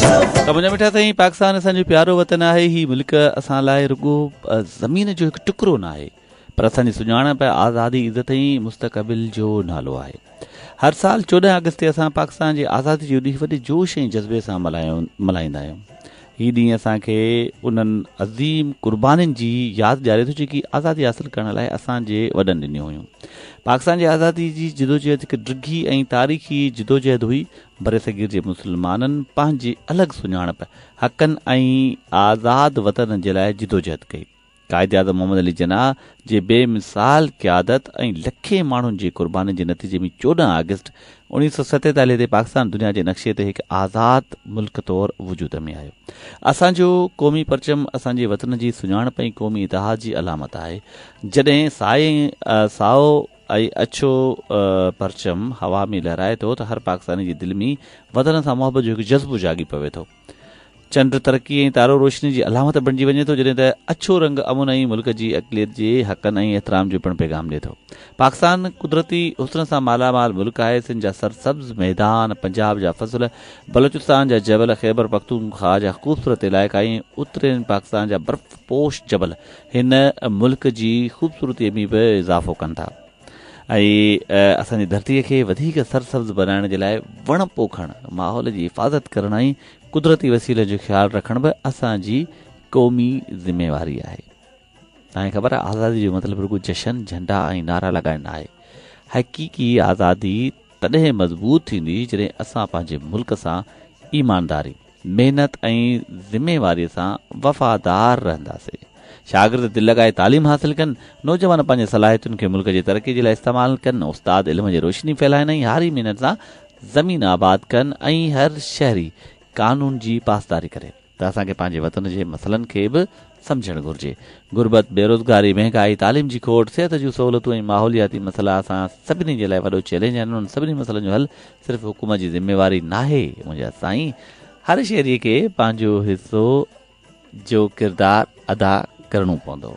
ته منهنجا مٺا سائين پاڪستان اسان جو پيارو وطن آهي هي ملڪ اسان لاء رڳو زمين جو هڪ ٽڪرو ناهي پر اسان جي سڃاڻپ آزادي عزت ۽ مستقبل جو نالو آهي هر سال 14 آگسٽ تي اسان پاڪستان جي آزادي جو ڏينهن وڏي جوش ۽ جذبي سان ملهائيندا آهيون هي ڏينهن اسان کي انهن عظيم قربانين جي ياد ڏياري ٿو جيڪي آزادي حاصل ڪرڻ لاء اسان جي وڏن ڏنيون هيون. پاڪستان جي آزادي جي جدوجهد هڪ ڊگهي ۽ تاريخي جدوجهد هئي. برصغير جي مسلمانن پنهنجي الڳ سڃاڻپ، حقن ۽ آزاد وطن جي لاء جدوجهد ڪئي. قائداعظم محمد علي جناح جي بي مثال قيادت ۽ لکين ماڻهن جي قربانين جي نتيجي ۾ 14 آگسٽ 1947 تي پاڪستان دنيا جي نقشي تي هڪ آزاد ملڪ طور وجود ۾ آيو. اسان جو قومي پرچم اسان جي وطن جي سڃاڻپ ۽ قومي اتحاد جي علامت آهي. جڏهن سائو ۽ اڇو پرچم هوا ۾ لهرائي ٿو ته هر پاڪستاني جي دل ۾ وطن سان محبت جو هڪ جذبو جاڳي پوي ٿو. چنڊ ترقي ۽ تارو روشني جي علامت بڻجي وڃي ٿو، جڏهن ته اڇو رنگ امن ۽ ملڪ جي اقليت جي حقن ۽ احترام جو پڻ پيغام ڏئي ٿو. پاڪستان قدرتي حسن سان مالا مال ملڪ آهي، سنڌ جا سرسبز ميدان، پنجاب جا فصل، بلوچستان جا جبل، خيبر پختونخواهه جا خوبصورت علائقا ۽ اترين پاڪستان جا برف پوش جبل هن ملڪ جي خوبصورتي ۾ به اضافو ڪن ٿا. ۽ اسان جي ڌرتيء کي وڌيڪ سرسبز بنائڻ جي لاء وڻ پوکڻ، ماحول جي حفاظت ڪرڻ ۽ قدرتي وسيلن جو خيال رکڻ به اسان جي قومي ذميواري آهي. توهان کي خبر آهي آزادي جو مطلب رڳو جشن، جهنڊا ۽ نعرا لڳائڻ ناهي. حقيقي آزادي تڏهن مضبوط ٿيندي جڏهن اسان پنهنجي ملڪ سان ايمانداري، محنت ۽ ذميواريء سان وفادار رهنداسين. شاگرد دل لڳائي تعليم حاصل ڪن، نوجوان پنهنجي صلاحيتن کي ملڪ جي ترقي جي لاء استعمال ڪن، استاد علم جي روشني ڦهلائن ۽ هاري محنت سان زمين آباد ڪن ۽ هر شهري قانون جي پاسداري ڪري. ته اسان کي پنهنجي وطن جي مسئلن کي به سمجهڻ گهرجي. غربت، بيروزگاري، مهنگائي، تعليم جي کوٽ، صحت جون سهولتون ۽ ماحولياتي مسئلا اسان سڀني جي لاء وڏو چئلينج آهن. انهن سڀني مسئلن جو حل صرف حڪومت جي ذميواري ناهي منهنجا سائين. هر شهري کي پنهنجو حصو جو ڪردار ادا ڪرڻو پوندو.